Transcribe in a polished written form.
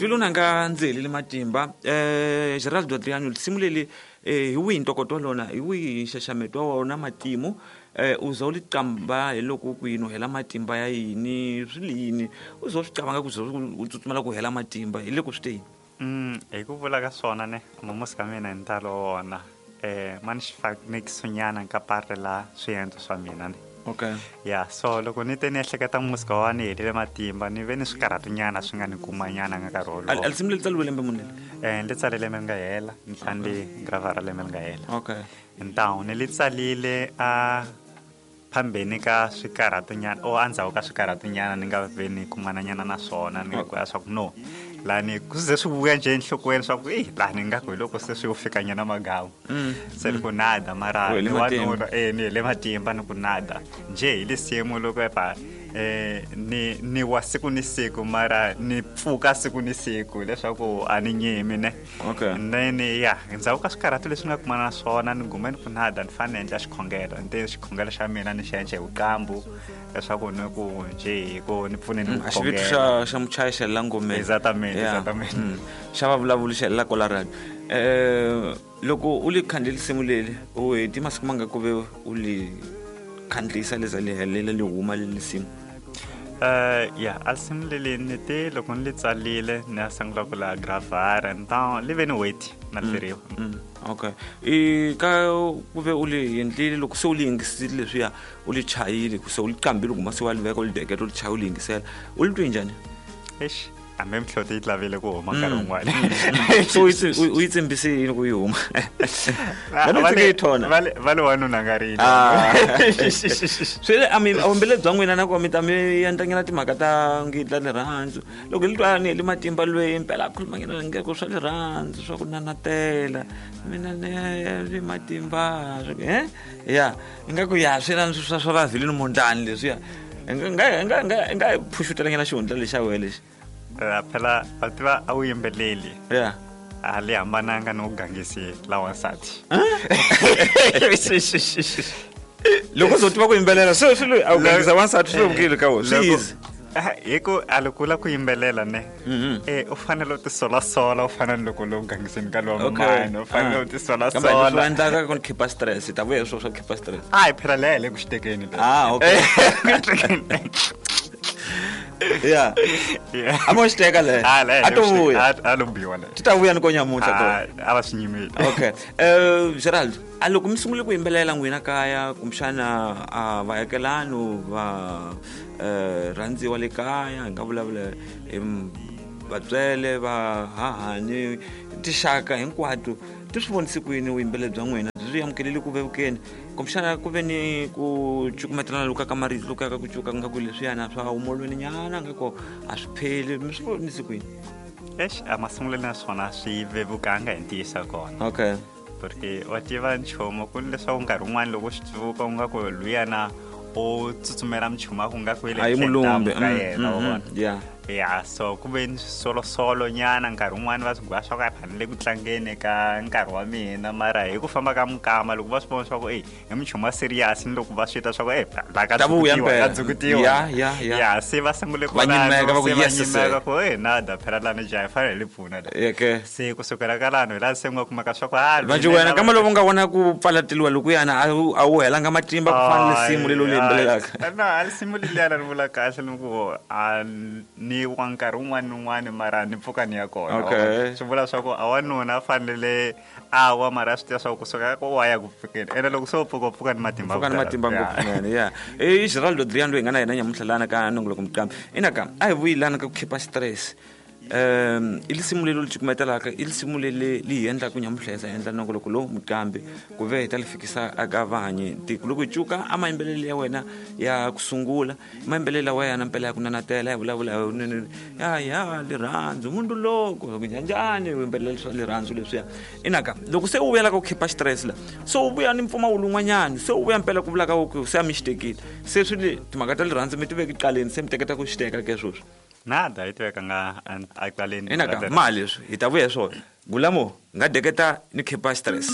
Twile u nanga ndzi helile matimba. Geraldo Adriano, risimu leli hi wihi ntokoto wa lona, hi wihi nxaxameto wa wona matimu? U za u li qamba hi loko ku yini u hela matimba ya yini, swi li yini? U za u swi cabanga ku za u tsutsumela ku hela matimba hi le ku swi te yini? Hi ku vula ka swona ne, mamusi ka mina hi ntalo wa wona. Ma ni xifanekisonyana ka parte la swiendlo swa mina ne. Okay. Ya, so loko ni te ni ehleketa musika wa ni helile matimba, ni ve ni swikarhatonyana swi nga ni kumanyana nga nkarhi wolowo. A risimu leri tsariwe lembe muni leri? Ni li tsale lembe ri nga hela, ni tlhela ni li gravara lembe ri nga hela. Okay. Ntawu ni li tsalile a phambeni ka swikarhatonyana o endzhaku ka swikarhatonyana ni nga ve ni kumananyana na swona, ni ku ya swa ku no lani ku ze swi vuya njhe enhlokweni swa ku eyi lani nga ku hi loko se swi yo fikanyana magamu. Se ni ku nada mara U hele ni matimba. wanuna, ni hele matimba ni ku nada njhe hi lisimu loko epa ni wa siku ni siku mara ni pfuka siku ni siku leswaku a ni nyimi ne. Okay. And then ya endzhaku ka swikarhato leswi ni nga kumana na swona ni gume ni ku nada ni fanele ni endla xikhongelo, ni te xikhongelo xa mina ni xi endla hi vuqambu leswaku ni ku njhe hi ku ni pfune ni A xivito khongela. xa muchayi xa la ngomeni. Exactamente, Yeah. exactamente. Xa vavulavuli xa la kwala radio. Loko u li khandle risimu leri, u heti masiku manga ku ve u li khandlisa leza li helela li huma le risimu? Ya, a risimu leli ni te loko ni li tsalile ni ya sungula ku la gravara, nta li ve ni wait na hleriwa. Okay. I ka ku ve u li endlile loko se u li yingisile leswiya, u li chayile, ku se u li qambile kuma se wa li veka u li deketa u li chaya u li yingisela, u li twi njhani? Eish, hambi mihloti yi lavile ku huma nkarhi wun'wana. So u yi tsimbise yini ku yi huma? Va le tsike yi thona. Va le wanuna nga rili. Swi le, a vumbele bya n'wina na ku mi ta mi endlanyana timhaka ta ngitla rirhandzu. Loko li twa ni heli matimba lweyi mpela a khuluma nyana nge ku swa rirhandzu swa ku nanatela. Mina ni heli matimba, eh? Ya, ingaku ya swi na swa va vilini mondlani leswiya. Nga phuxutela nyana xihundla lexi xa wena lexi. Phela va tiva a wu yimbeleli. Yeah. A li hambananga ni ku gangisi la wansati. Loko u tiva ku yimbelela, se swi loyi a wu gangisa wansati swi vukile ka wena, swi easy. Hi ku a loko u lava ku yimbelela ne, u fanele u tisolasola, u fana ni loko u le ku gangiseni ka lowa mani, u fanele u tisolasola. Kambe leswi endlaka ku khipa stress, ta vuya sweswo swa khipa stress. A hi phela leyi hi le ku xitekeni le. Okay. Yeah. Yeah. A mo xiteka le. Ah, le, A to vuya. A lo biwa le. Ti ta vuya ni ko nyamuntlha to. Ah, a va swi nyimile. Okay. Gerald, a loko mi sungule ku yimbelela n'wina kaya, kumbexana, a vaakelani va rhandziwa le kaya, hi nga vulavula hi vatswele, va hahani, tinxaka hinkwato, ti swi vonise ku yini vuyimbeleri bya n'wina? Byi swi amukelele ku vevukeni? Kumbexana ku ve ni ku cukumetelana loku ka marito loku ya ka ku cuka nga ku leswiyana swa humolweni nyana nga ku a swi pheli, mi swi vonise ku yini? Eish, a masungulweni ya swona swi vevukanga hi ntiyiso wa kona. Okay. Porque wa tiva nchumu ku ni leswaku nkarhi wun'wani loko swi tsundzuka u nga ku luyana u tsutsumela minchumu ya ku nga ku yi le A yi henhla mulumbi. ka yena, wa vona? Yeah. Ya, so ku ve ni swisolosolo nyana nkarhi wun'wani va swi gwa swa ku a ni le ku tlangeni ka nkarhi wa mina, mara hi ku famba ka minkama loko va swi vona swa ku ey i minchumu ya serious, ni loko va swi twa swa ku ey la ka Ta vuya dzukutiwa, mpela. ka dzukutiwa. Ya, ya, ya. Ya, se va sungule Va kwalano, nyimeka, va ku se va yes, sir. nyimeka ku ey nada phela lani jaha hi fanele hi li pfuna la. Yeah, ke. Se kusukela ka lano hi laha se nga kumeka swa ku, ah, Vanji mina wena, na kambe loko u nga vona ku pfalateliwa lokuyana, a wu helanga matimba ku fana na risimu leri u li yimbelelaka. Ay, no, a risimu leriya ri vula kahle ni ku, a ni wa nkarhi wun'wani ni wun'wani mara ni pfuka ni ya kona. Okay. Swi vula swa ku a wanuna a fanele a wa mara a swi tiva swa ku kusuka ka wa ya ku pfukeni. Ene loko se u pfuka, u pfuka ni matimba Pfuka ni ku tala. matimba ngopfu Yeah. swinene, yeah. I Geraldo Adriano loyi hi nga na yena nyamuntlha lana ka nongoloko Muqambi. Inaka, a hi vuyi lana ka ku khipa stress. I risimu leri u li cukumetelaka, i risimu leri li hi endlaka nyamuntlha hi za endla nongoloko lowu Muqambi, ku ve hi ta li fikisa eka vahanyi tiko. Loko hi cuka a mayimbelelo ya wena ya ku sungula, mayimbelelo lawa ya na mpela ya ku nanatela, ya vulavula hi ni, ya, ya, rirhandzu, munhu loko, ku njhanjhani, u yimbelela swa rirhandzu leswiya. Inaka, loko se u vuyela ka ku khipa stress la, se u vuya ni mpfumawulo wun'wanyana, se u vuya mpela ku vula ka ku se a mi xi tekile. Se swi le, timhaka ta rirhandzu mi ti veki qaleni, se mi teketa ku xi teka ke sweswi. Nada, yi tiveka nga a qaleni. Inaka, ma leswi, hi ta vuya hi swona. Gulamo, nga deketa ni khipa stress.